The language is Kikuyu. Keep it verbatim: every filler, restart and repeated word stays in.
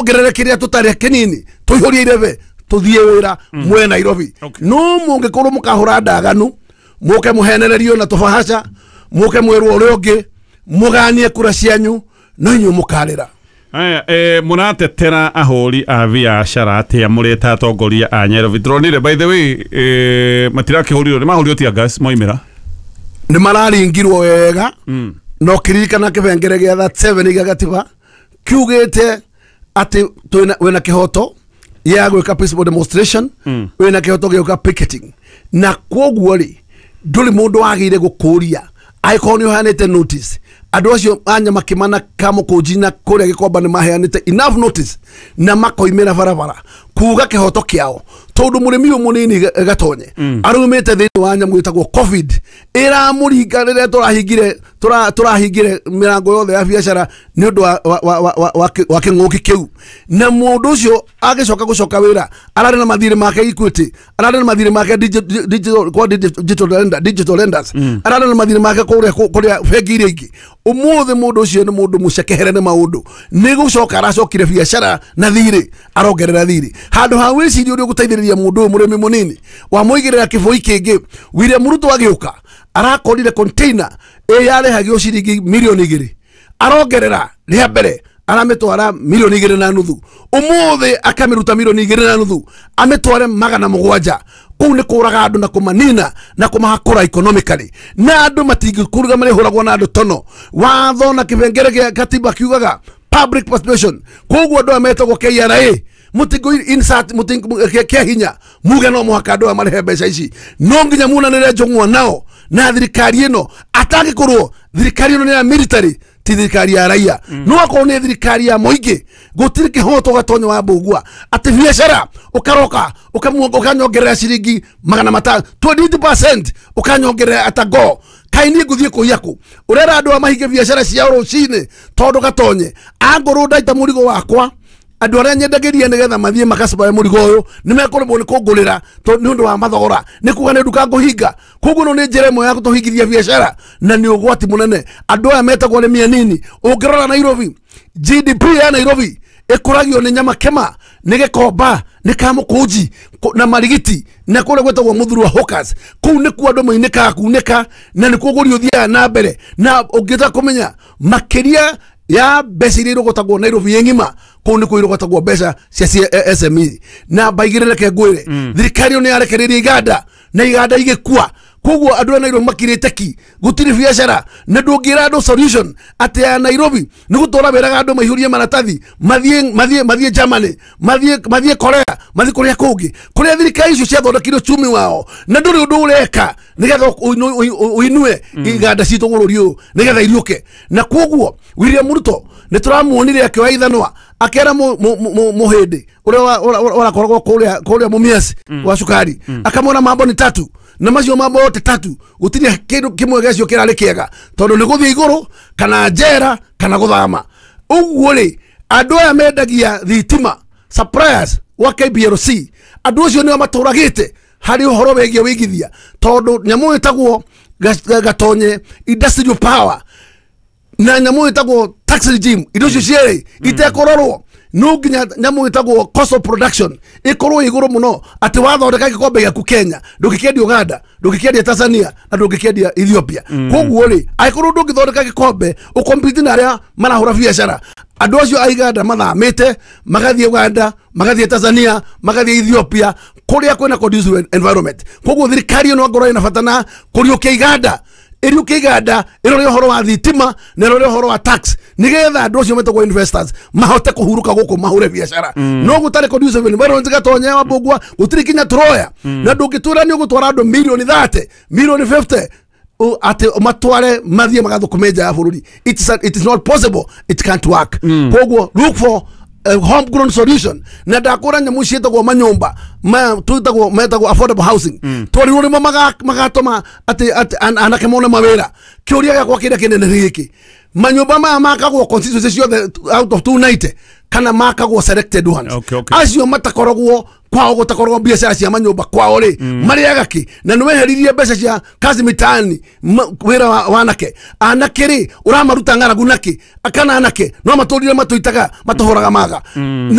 Tuongerere kĩrĩa tũtarĩ kĩnini tũihũrie irebe tũthiĩ wĩra mwe Nairobi. No mũngĩkorwo mũkahũra ndaganu mũke mũhenererio na tũbahaca mũke mwĩrwo ũrĩa ũngĩ mũganie kura cianyu no inyuĩ mũkarĩra. Aya, eh, mũratetera ahũri a biacara atĩa mũrĩ ta atongoria a Nairobi? Tũronire by the way eh, matirakĩhũrirwo nĩ mahũrirwo tear gas moimĩra nĩ mararingirwo wega. No kĩririkana kĩbengere gĩa thirty-seven gĩa gatiba kiugĩte atĩ twĩna wĩna kĩhoto ya gwĩka peaceful demonstration, wĩna kĩhoto gĩa gwĩka picketing, na kwoguo rĩ ndũrĩ mũndũ wagĩrĩire gũkũria angĩkorwo nĩ ũheanĩte notice. Andũ acio a Nyamakĩma na Kamũkũnji na kũrĩa Gĩkomba nĩ maheanĩte enough notice na makoimĩra barabara kuga kĩhoto kĩao, tondũ mũrĩmi ũyũ mũnini Gatonye arumĩte thĩinĩ wa nyamũ ĩtagwo COVID ĩramũringa rĩrĩa tũrahingire tũrahingire mĩrango yothe ya biacara nĩ ũndũ wa wa wa wa kĩng'ũki kĩu, na mũndũ ũcio agĩcoka gũcoka wĩra ararĩ na mathirĩ make Equity, ararĩ na mathirĩ make digital kwa digital lender digital lenders, ararĩ na mathirĩ make kũrĩa kũrĩa bengi iria ingĩ. Ũmũthĩ mũndũ ũcio nĩ mũndũ mũcekehere nĩ maũndũ, nĩ gũcoka aracokire biacara na thirĩ arongerera thirĩ handũ ha wĩcirie ũrĩa ũgũteithĩrĩria mũndũ ũyũ mũrĩmi mũnini wamũigĩrĩra kĩbũi kĩngĩ. William Ruto agĩũka arakorire container ĩ yarĩhagio ciringi milioni igĩrĩ, arongerera rĩa mbere aramitwara milioni igĩrĩ na nuthu, ũmũthĩ akamĩruta milioni igĩrĩ na nuthu amĩtware magana mũgwanja. Kũu nĩ kũraga andũ na kũmanina na kũmahakũra economically, na andũ matingĩkũruga marĩhũragwo na andũ tono. Watho na kĩbengere gĩa katiba kiugaga public participation, koguo andũ aya metagwo K R A mutingo insert mutingo kia hinya muge no mũhaka andũ aya marĩhe mbeca ici, no nginya munanĩre njũng'wa nao na thirikari ĩno atangĩkorwo thirikari ĩno nĩ ya military ti thirikari ya raia, no akorwo nĩ thirikari ya mũingĩ gũtirĩ kĩhoto Gatonye wa Mbũgua atĩ biacara ũkaroka ũkanyongerera ciringi magana matano twenty percent ũkanyongerera atago kaĩ niĩ ngũthiĩ kũiya kũ? Ũrera andũ aya mahinge biacara ciao rũcinĩ tondũ Gatonye angorwo ndaita mũrigo wakwa andũ arĩa nyendagĩria nĩgetha mathiĩ makacibaya mũrigo ũyũ nĩ mekũremwo nĩ kũngũrĩra nĩ ũndũ wa mathogora, nĩ kuga nĩ nduka ngũhinga. Koguo ĩno nĩ njĩra ĩmwe ya gũtũhingithia biacara na nĩ ũgwati mũnene. Andũ aya metagwo arĩmi anini, ũngĩrora Nairobi G D P ya Nairobi ĩkũragio nĩ Nyamakĩma, nĩ Gĩkomba, nĩ Kamũkũnji na Marigiti na kũrĩa gwĩtagwo Mũthurwa Hawkers. Kũu nĩkuo andũ mainĩkaga kunĩka na nĩkuo ũgũri ũthiaga na mbere, na ũngĩenda kũmenya makĩria ya mbeca iria irogotagwo Nairobi ĩ ng'ima kũu nĩkuo irogotagwo mbeca cia S M E. Na mbaigĩrĩre reke ngwĩre thirikari ĩyo nĩ yarekereirie iganda na iganda igĩkua, koguo andũ a Nairobi makirĩte ki, gũtirĩ biacara na ndũngĩra andũ solution atĩ ya Nairobi nĩ gũtũra wĩraga andũ maihũrie maratathi mathiĩ mathiĩ mathiĩ Germany, mathiĩ mathiĩ Korea, mathiĩ kũrĩa kũngĩ kũrĩa thirikari icio ciathondekire uchumi wao, na ndũrĩ ũndũ ũreka nĩgetha ũinue iganda citũ bũrũri ũyũ nĩgetha iriũke. Na koguo William Ruto nĩ tũramuonire akĩoya ithanwa akera mũhĩndĩ ũrĩa ũrakoragwo kũrĩa kũrĩa Mumias wa cukari, akamwona mambo ni tatu na macio mambo yote tatu gũtirĩ kĩndũ kĩmwe gĩacio kĩrarĩ kĩega tondũ nĩ gũthiĩ igũrũ kana njera kana gũthama. Ũguo rĩ andũ aya mendagia thitima suppliers wa K B L C andũ acio nĩo matũragĩte harĩ ũhoro wĩgiĩ wĩigithia, tondũ nyamũ ĩtagwo Gatonye industrial power na nyamũ ĩtagwo tax regime indo icio cierĩ itekũrorwo no nginya nyamũ ĩtagwo cost of production ĩkorwo igũrũ mũno atĩ wathondeka gĩkombe gĩaku Kenya ndũngĩkĩendia Uganda, ndũngĩkĩendia Tanzania na ndũngĩkĩendia Ethiopia. Koguo rĩ angĩkorwo ndũngĩthondeka gĩkombe ũkompete na arĩa marahũra biacara, andũ acio a Uganda mathamĩte magathiĩ Uganda, magathiĩ Tanzania, magathiĩ Ethiopia kũrĩa kwĩna conducive environment. Koguo thirikari ĩno ngorwo ĩna bata na kũriũkia iganda, ĩriũkie iganda ĩrore ũhoro wa thitima na ĩrore ũhoro wa tax nĩgetha andũ acio metagwo investors mahote kũhurũka gũkũ mahũre biacara. No gũtarĩ conducive environment Gatonye wa Mbũgua gũtirĩ kinya tũroya, na ndũngĩtwĩra nĩ ũgũtwara andũ milioni thirty milioni fifty atĩ matware mathiĩ magathũkũme nja ya bũrũri. It is, it is not possible, it can't work. Koguo look for a homegrown solution. Na ndakũra nyamũ ciĩtagwo manyũmba ma twĩtagwo metagwo affordable housing twarirwo nĩmo magatũma atĩ anake mone mawĩra. Kĩũria gĩakwa kĩrĩa kĩnene nĩ gĩkĩ, manyũmba maya makagwo constituency ciothe out of two ninety Kana makagwo selected ones. Okay, okay. Acio matakoragwo kwao, gutakoragwo biacara cia manyũmba kwao rĩ, marĩaga kĩ? Na nĩ weheririe mbeca cia kazi mitaani, ma- wĩra wa wanake. Anake rĩ, ũramaruta ng'aragu nakĩ? Kana anake no matũrire matũitaga matũhũraga maga.